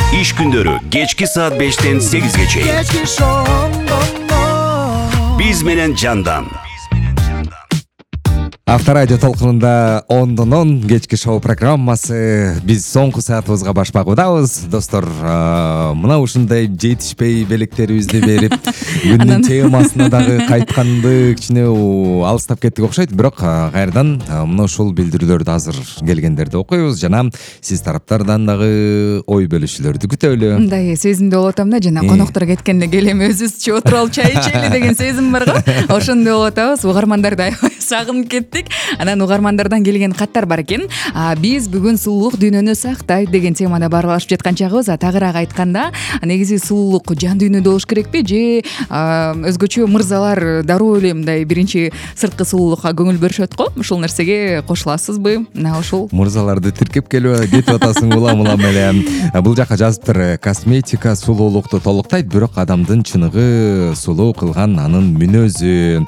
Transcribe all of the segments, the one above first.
Иш күндөрү кечки саат 5-тен 8-ге чейин. Биз менен жандан. Авторадио толкунунда ондон кечки шоу программасы. Биз соңку саатыбызга баш багуудабыз. Достор, мына ушундай жетишпей белектерибизди берип, күндүн темасына дагы кайтканды кичине алыстап кеттик окшойт. Бирок кайрадан мына ушул билдирүүлөрдү азыр келгендерди окуйбуз жана сиз тараптардан дагы ой бөлүшүүлөрдү күтөлү. Мындай сезимди болуп атам да, жана коноктор кеткенде келем өзүбүзчө отуруп алып чай ичели деген сезим бар го. Ошондой болуп атабыз. Угармандарды аябай сагынып кеттик. Анан угармандардан келген каттар бар экен. Биз бүгүн сулуулук дүйнөнү сактайт деген темада баарлашып жаткан чагыбыз. Тагыраак айтканда, негизи сулуулук жан дүйнөдө болуш керекпи же өзгөчө мырзалар дароо эле мындай биринчи сырткы сулуулукка көңүл бөлүшөт го? Ушул нерсеге кошуласызбы? Мына ушул Мырзаларды тиркеп кетип атасың улам эле. Бул жака жазыптыр: косметика сулуулукту толуктайт, бирок адамдын чыныгы сулуу кылган анын мүнөзү.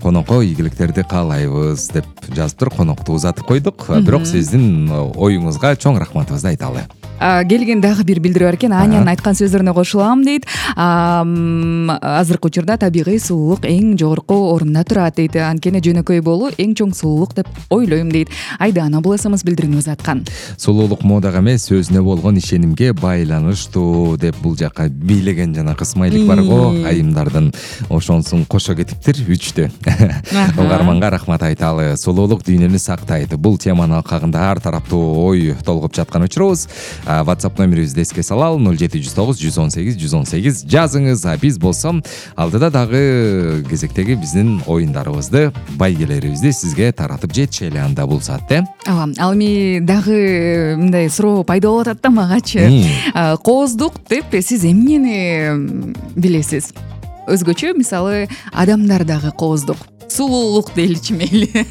Конокко ийгиликтерди каалайбыз деп жазыптыр. Конокто узатып койдук. Бирок сиздин оюңузга чоң рахматыбызды айталы. Келген дагы бир билдирүү бар экен. Анянын айткан сөздөрүнө кошулам дейт. Азыркы учурда табигый сулуулук эң жогорку орунда турат дейт. Анткени жөнөкөй болуу эң чоң сулуулук деп ойлойм дейт. Айдана бул СМС билдирүүнү узаткан. Сулуулук модага эмес, өзүнө болгон ишенимге байланыштуу деп бул жака бийлеген жана кысмайлык бар го айымдардын. Ошонсун кошо кетиптир 3тө. Угарманга рахмат айталы. Сулуулук дүйнөнү сактайт. Бул теманын алкагында ар тараптуу ой толгоп жаткан учурубуз. WhatsApp номерибизди эске салалы: 0709 118 118 жазыңыз. Биз болсо алдыда дагы кезектеги биздин оюндарыбызды, байгелерибизди сизге таратып жетишели анда бул саатта. Ал эми дагы мындай суроо пайда болуп атат да магачы. Кооздук деп сиз эмнени билесиз? Өзгөчө мисалы адамдар дагы кооздук, сулуулук дейличи мейли.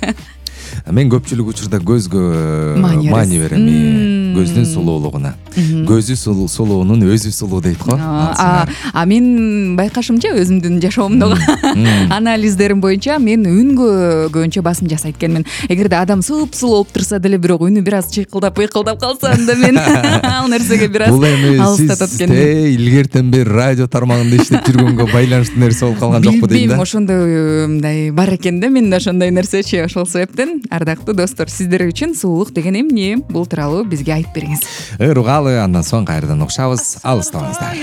Мен көпчүлүк учурда көзгө маани берем. Көздүн сулуулугуна. Көзү сулуунун өзү сулуу дейт го. Мен байкашымча өзүмдүн жашоомдогу анализдерим боюнча мен үнгө көбүнчө басым жасайт экенмин. Эгерде адам сулуу болуп турса деле, бирок үнү бир аз чыйкылдап калса, анда мен ал нерсеге бир аз алыстатат экенмин. Бул эми сиз илгертен бери радио тармагында иштеп жүргөнгө байланыштуу нерсе болуп калган жокпу дейм да. Билбейм, ошондой мындай бар экен да менде ошондой нерсечи. Ошол себептен ардактуу достор, сиздер үчүн сулуулук деген эмне? Бул тууралуу бизге айтып бериңиз. Угалы, андан соң кайрадан угушабыз. Алыстабаңыздар.